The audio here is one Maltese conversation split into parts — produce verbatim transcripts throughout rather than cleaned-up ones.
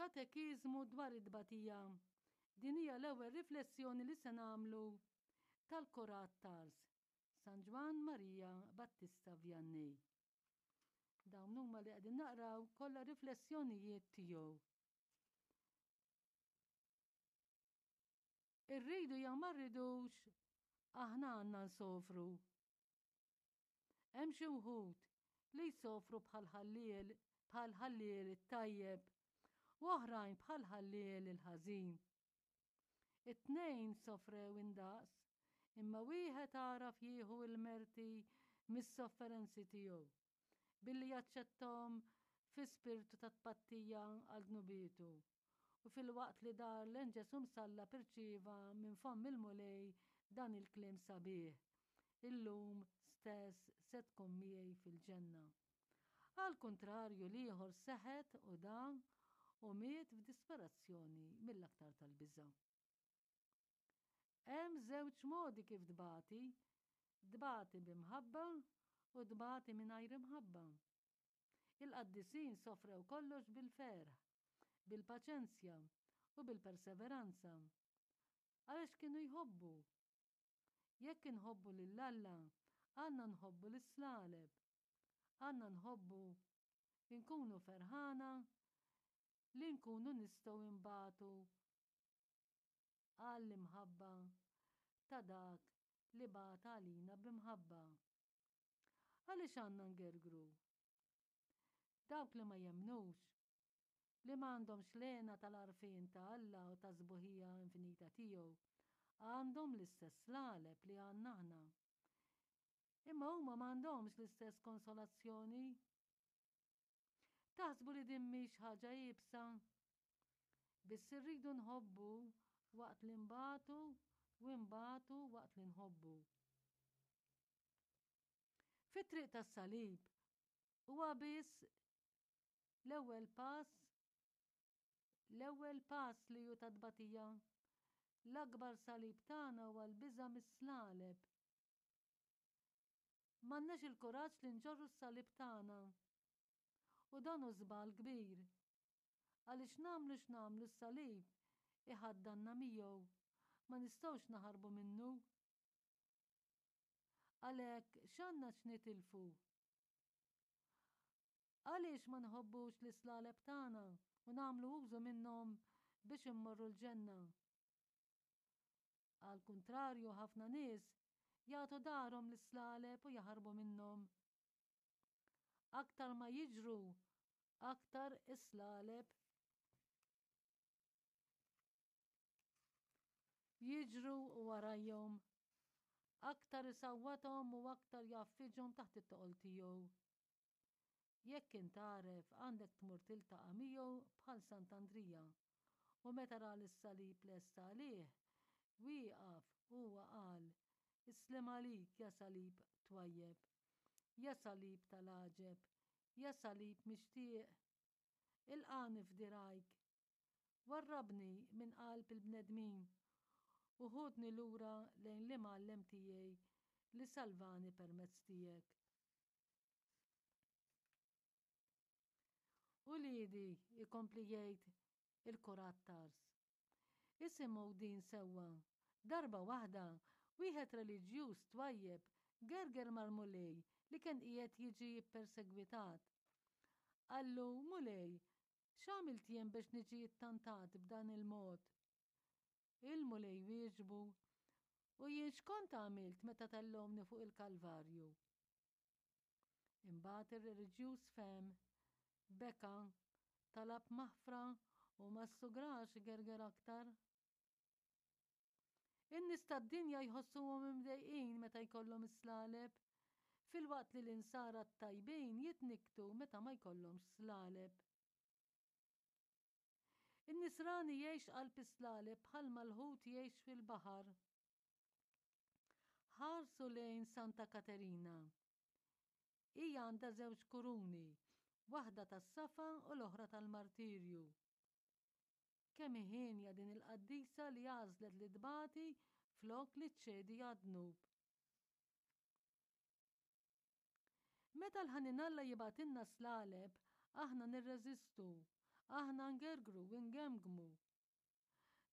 Katekiżmu dwar it-tbatija. Din hija l-ewwel riflessjoni li se nagħmlu tal-Kurat t'Ars, San Ġwann Marija Battista Vianney. Dawn huma li qegħdin naqraw kollha riflessjonijiet tiegħu. Irridu jew ma rridux, aħna għandna nsofru. Hemm xi wħud li jsofru bħal ħalliel bħal ħalliel it-tajjeb u oħrajn bħal ħalliel il-ħażin. It-tnejn sofrew indaqs, imma wieħed għaraf jieħu l-merti mis-sofferenzi tiegħu billi jaċċettahom fi spirtu ta' tpattija għal dnubietu u filwaqt li dar lejn Ġesù msallab irċieva minn fomm il-Mulej dan il-kliem sabiħ, Illum stess se tkun miegħi fil-ġenna. Għall-kuntrarju l-ieħor seħet u da u miet f'disperazzjoni mill-aktar tal-biża'. Hemm żewġ modi kif tbati, tbati bi mħabba u tbati mingħajr imħabba. Il-qaddisin sofrew kollox bil-ferħ, bil-paċenzja u bil-perseveranza. Għaliex kienu jħobbu. Jekk inħobbu lil Alla, għandna nħobbu lis-slaleb. Għandna nħobbu nkunu ferħana li nkunu nistgħu nbatu għall-imħabba ta' dak li bata għalina b'imħabba. Għaliex għandna ngergru? Dawk li ma jemmnux, li ma għandhomx l-hena tal-għarfien ta' Alla u tas-sbuħija infinita tiegħu, għandhom l-istess slaleb li għandna aħna. Imma huma ma għandhomx l-istess konsolazzjoni. Taħsbu li din mhix ħaġa iebsa? Biss irridu nħobbu waqt li nbatu u nbatu waqt li nħobbu. Fit-triq tas-salib huwa biss l-ewwel pass l-ewwel pass li hu ta' tbatija. L-akbar salib tagħna huwa l-biża' mis-slaleb. M'għandniex il-kuraġġ li nġorru s-salib tagħna. U dan hu żball kbir. Għaliex nagħmlu x'nagħmlu s-salib iħaddanna miegħu. Ma nistgħux naħarbu minnu. Għalhekk x'għandna x'nitilfu? Għaliex ma nħobbux l-islaleb tagħna u nagħmlu użu minnhom biex immorru l-ġenna? Għal kuntrarju ħafna nies jagħtu darhom lis-slaleb u jaħarbu minnhom. Aktar ma jiġru, aktar is-slaleb jiġru warajhom, aktar isawwathom u aktar jgħaffiġhom taħt it-toqol tiegħu. Jekk int għaref għandek tmur tiltaqa' miegħu bħal Sant'Andrija. U meta ra lis-salib lest għalih, wieqaf huwa qal, Is-sliem għalik, ja salib twajjeb, ja salib tal-għaġeb, ja salib mixtieq. Ilqagħni f'dirgħajk. Warrabni minn qalb il-bnedmin u ħudni lura lejn l-Imgħallem tiegħi li salvani permezz tiegħek. Uliedi, ikompli jgħid il-Kurat Tars. Isimgħu din sewwa. Darba waħda, wieħed reliġjuż twajjeb gerger mal-Mulej li kien qiegħed jiġi ppersegwitat. Qallu, Mulej, x'għamilt jien biex niġi ttantat b'dan il-mod? Il-Mulej wieġbu, U jien x'kont għamilt meta tellgħuni fuq il-Kalvarju? Imbagħad ir-reliġjuż fehem, beka, talab maħfra u ma ssugrax igerger aktar. In-nies tad-dinja jħossuhom imdejqin meta jkollhom is-slaleb, filwaqt li l-insara t-tajbin jitnikktu meta ma jkollhomx slaleb. In-nisrani jgħix qalb is-slaleb bħalma l-ħut jgħix fil-baħar. Ħarsu lejn Santa Katerina. Hija għandha żewġ kuruni, waħda tas-safa u l-oħra tal-martirju. Kemm hi hienja din il-qaddisa li għażlet li tbati flok li ċċedi għad-dnub. Meta l-ħanin Alla jibgħatilna slaleb, aħna nirreżistu Aħna ngergru u ngemgmu.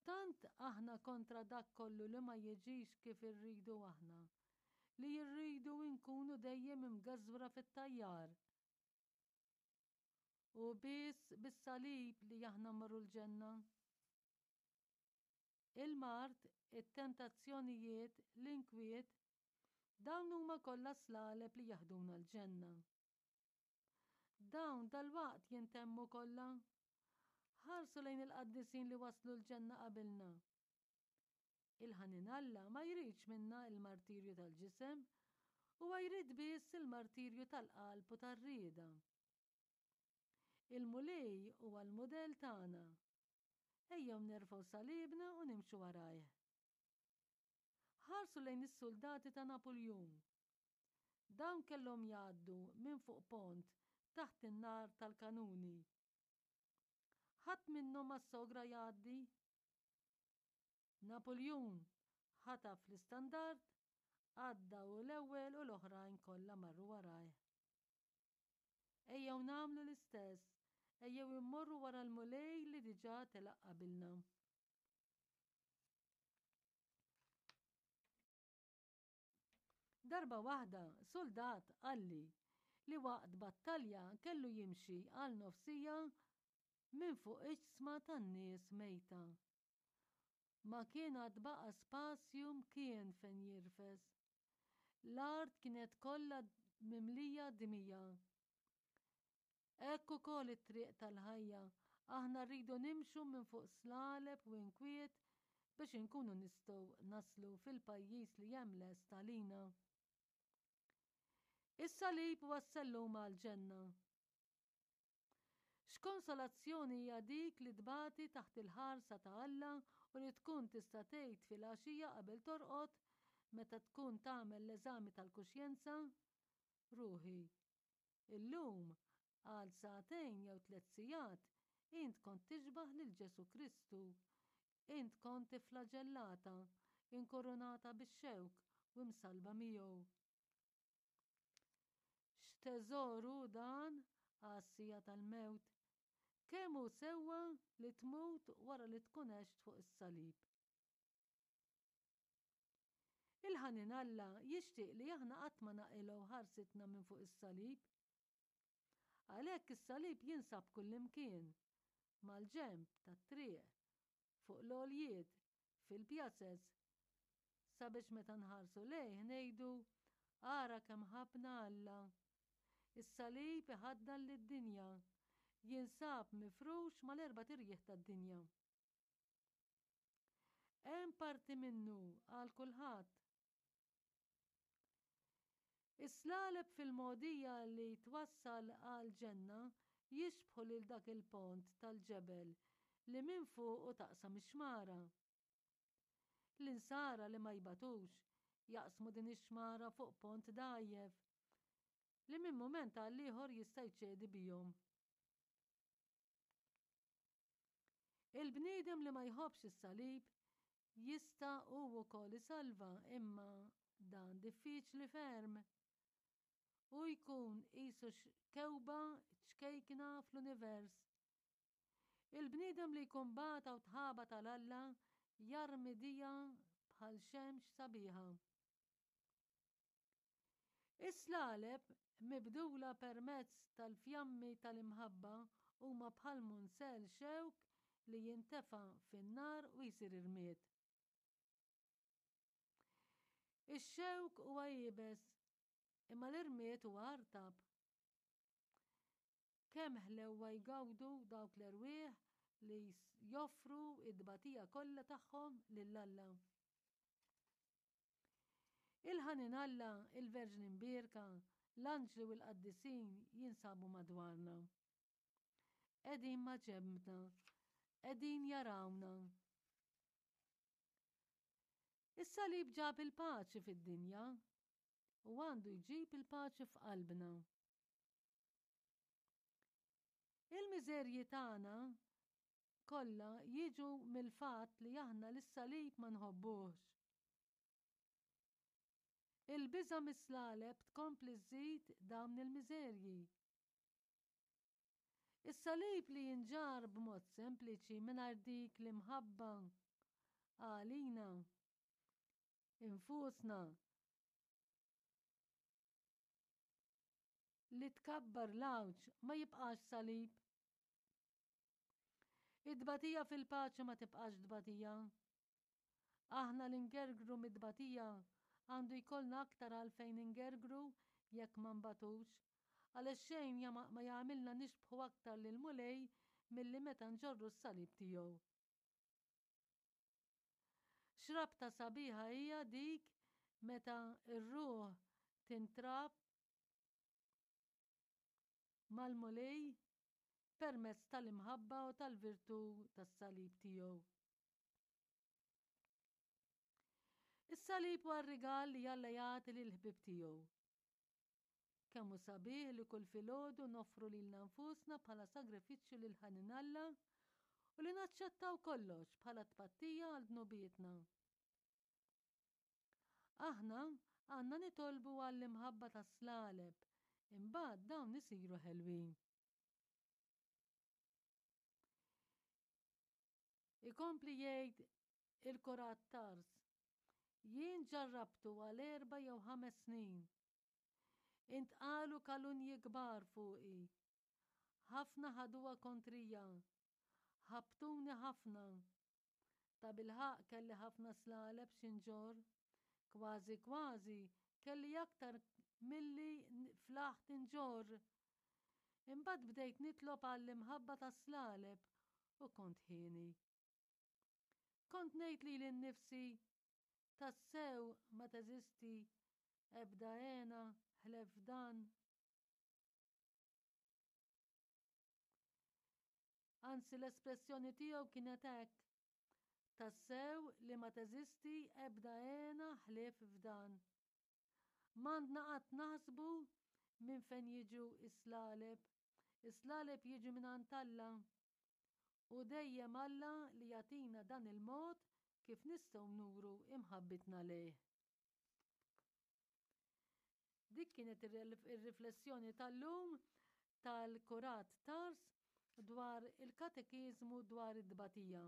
Tant aħna kontra dak kollu li ma jiġix kif irridu aħna, li rridu nkunu dejjem imgeżwra fit-tajjar. U biss bis-salib li aħna mmorru l-ġenna. Il-mard, it-tentazzjonijiet, l-inkwiet, dawn huma kollha slaleb li jaħduna l-ġenna. Dawn dalwaqt jintemmu kollha. Ħarsu lejn il-qaddisin li waslu l-ġenna qabilna. Il-ħanin Alla ma jridx minna il-martirju tal-ġisem, huwa jrid biss il-martirju tal-qalb u tar-rieda. Il-Mulej huwa l-mudell tagħna. Ejjew nerfgħu salibna u nimxu warajh. Ħarsu lejn is-soldati ta' Napuljun. Dawn kellhom jgħaddu minn fuq pont taħt in-nar tal-kanuni. Ħadd minnhom ma sogra jgħaddi. Napuljun ħataf l-istandard, għadda u l-ewwel u l-oħrajn kollha marru warajh. Ejjew nagħmlu l-istess, ejjew immorru wara l-Mulej li diġà telaq qabilna. Darba waħda suldat qalli li waqt battalja kellu jimxi għal nofsija minn fuq iġsma tan-nies mejta. Ma kien għad baqa' spazju mkien fejn jirfes. L-art kienet kollha mimlija dmija. Hekk ukoll it-triq tal-ħajja, aħna rridu nimxu minn fuq slaleb u inkwiet biex inkunu nistgħu naslu fil-pajjiż li hemm lest għalina. Is-salib huwa s-sellum għall-ġenna. X'konsolazzjoni hija dik li tbati taħt il-ħarsa ta' Alla u li tkun tista' tgħid filgħaxija qabel torqod meta tkun tagħmel l-eżami tal-kuxjenza, Ruħi, illum għal sagħtejn jew tliet sigħat int kont tixbah lil Ġesù Kristu. Int kont ifflaġellata, inkurunata bix-xewk u msallba miegħu. X'teżor hu dan għas-siegħa tal-mewt! Kemm hu sewwa li tmut wara li tkun għext fuq is-salib! Il-ħanin Alla jixtieq li aħna qatt ma naqilgħu ħarsitna minn fuq is-salib. Għalhekk is-salib jinsab kullimkien, mal-ġenb tat-triq, fuq l-għoljiet, fil-pjazez, sabiex meta nħarsu lejh ngħidu, Ara kemm ħabbna Alla! Is-salib iħaddan lid-dinja, jinsab mifrux mal-erbat irjieħ tad-dinja. Hemm parti minnu għal kulħadd. Is-slaleb fil-mogħdija li twassal għall-ġenna jixbħu lil dak il-pont tal-ġebel li minn fuqu taqsam ix-xmara. L-insara li ma jbatux jaqsmu din ix-xmara fuq pont dgħajjef li minn mument għal ieħor jista' jċedi bihom. Il-bniedem li ma jħobbx is-salib jista' hu wkoll isalva imma dan diffiċli ferm. Hu jkun qisu kewba ċkejkna fl-univers. Il-bniedem li jkun bata u tħabat għal Alla jarmi dija bħal xemx sabiħa. Is-slaleb mibdula permezz tal-fjammi tal-imħabba huma bħal munzell xewk li jintefa' fin-nar u jsir irmied. Ix-xewk huwa iebes, imma l-irmied huwa artab. Kemm ħlewwa jgawdu dawk l-erwieħ li joffru t-tbatija kollha tagħhom lil Alla. Il-ħanin Alla, il-Verġni Mbierka, l-anġli u l-qaddisin jinsabu madwarna. Qegħdin ma' ġenbna, qegħdin jarawna. Is-salib ġab il-paċi fid-dinja u għandu jġib il-paċi f'qalbna. Il-miżerji tagħna kollha jiġu mill-fatt li aħna lis-salib ma nħobbuhx. Il-biża' mis-slaleb tkompli żżid dawn il-miżerji. Is-salib li jinġarr b'mod sempliċi mingħajr dik l-imħabba għalina infusna li tkabbar l-għawġ ma jibqax salib. Id-tbatija fil-paċi ma tibqax tbatija. Aħna li ngergru mid-tbatija għandu jkollna aktar għalfejn ingergru jekk ma nbatux, għaliex xejn ma jagħmilna nixbħu aktar lill-Mulej milli meta nġorru s-salib tiegħu. X'rabta sabiħa hija dik meta r-ruħ tintrab mal-Mulej permezz tal-imħabba u tal-virtù tas-salib tiegħu. Is-salib huwa r-rigal li Alla jagħti lill-ħbieb tiegħu. Kemm hu sabiħ li kull filgħodu noffru lilna nfusna bħala sagrifiċċju lil ħanin Alla u li naċċettaw kollox bħala tpattija għal dnubietna. Aħna għandna nitolbu għall-imħabba tas-slaleb, imbagħad dawn isiru ħelwin. Ikompli jgħid il-Kurat Tars, Jien ġarrabtu għal erba' jew ħames snin. Intqalu kalunji kbar fuqi. Ħafna ħaduha kontrija. Ħabbtuni ħafna. Tabilħaqq kelli ħafna slaleb xi nġorr. Kważi kważi kelli aktar milli flaħt inġorr. Imbagħad bdejt nitlob għall-imħabba tas-slaleb u kont hieni. Kont ngħid lili nnifsi, Tassew ma teżisti ebda hena ħlef f'dan. Anzi l-espressjoni tiegħu kienet hekk, Tassew li ma teżisti ebda hena ħlief f'dan. M'għandna qatt naħsbu minn fejn jiġu s-slaleb. Is-slaleb jiġu mingħand Alla. Hu dejjem Alla li jagħtina dan il-mod kif nistgħu nuru imħabbitna lejh. Dik kienet ir-riflessjoni tal-lum tal-Kurat Tars dwar il-katekiżmu dwar it-tbatija.